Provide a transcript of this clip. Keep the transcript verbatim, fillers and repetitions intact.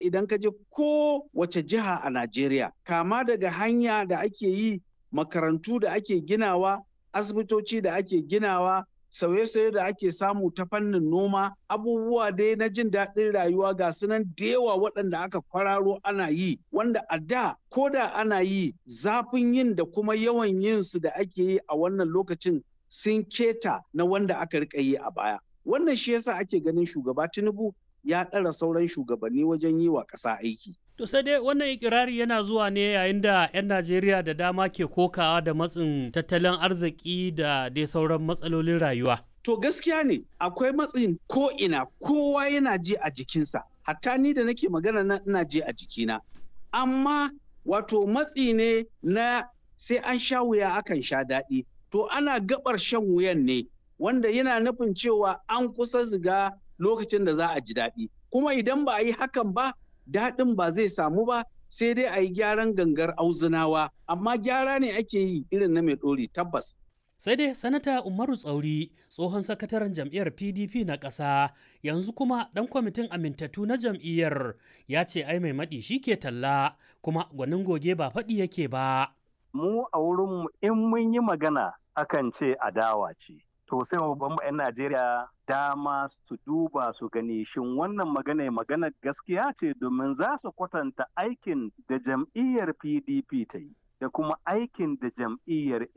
Idan ka je ko wace jiha a Najeriya, kama daga hanya da ake yi, makarantu da ake ginawa, asibitoci da ake ginawa, sauye-sauye da ake samu ta fannin noma, abubuwa dai na jin daɗin rayuwa ga sunan da yawa waɗanda aka kwararo ana yi, wanda a da ko da ana yi zafin yin da kuma yawan yin su da ake yi a wannan lokacin sun keta na wanda aka rika yi a baya. Wannan shi yasa ake ganin shugaba Tinubu ya ɗara sauran shugabanni wajen yi wa ƙasa aiki. To sai dai wannan ikirari yana zuwa ne yayin da 'yan Najeriya da dama ke kokawa da matsin tattalin arziki da dai sauran matsalolin rayuwa. To gaskiya ne akwai matsin ko'ina kowa yana ji a jikinsa, hatta ni da nake magana nan ina ji a jikina. Amma wato matsi ne na sai an sha wuya akan sha daɗi. To ana gabar shan wuyan ne wanda yana nufin cewa an kusa ziga lokacin da za a ji daɗi. Kuma idan ba a yi hakan ba, daɗin ba zai samu ba sai dai a yi gyaran gangar auzunawa amma gyara ne ake yi irin na mai ɗori tabbas. Sai dai Sanata Umaru Tsauri tsohon sakataren jam'iyyar P D P na ƙasa yanzu kuma ɗan kwamitin amintattu na jam'iyyar ya ce ai mai maɗi shi ke talla kuma gwanin goge ba faɗi yake ba. Mu a wurinmu in mun yi magana akan ce adawa ce. To sai mu ban 'yan Najeriya dama su duba su gani shin wannan magana magana gaskiya ce domin za su kwatanta aikin da jam'iyyar P D P ta yi da kuma aikin da jam'iyyar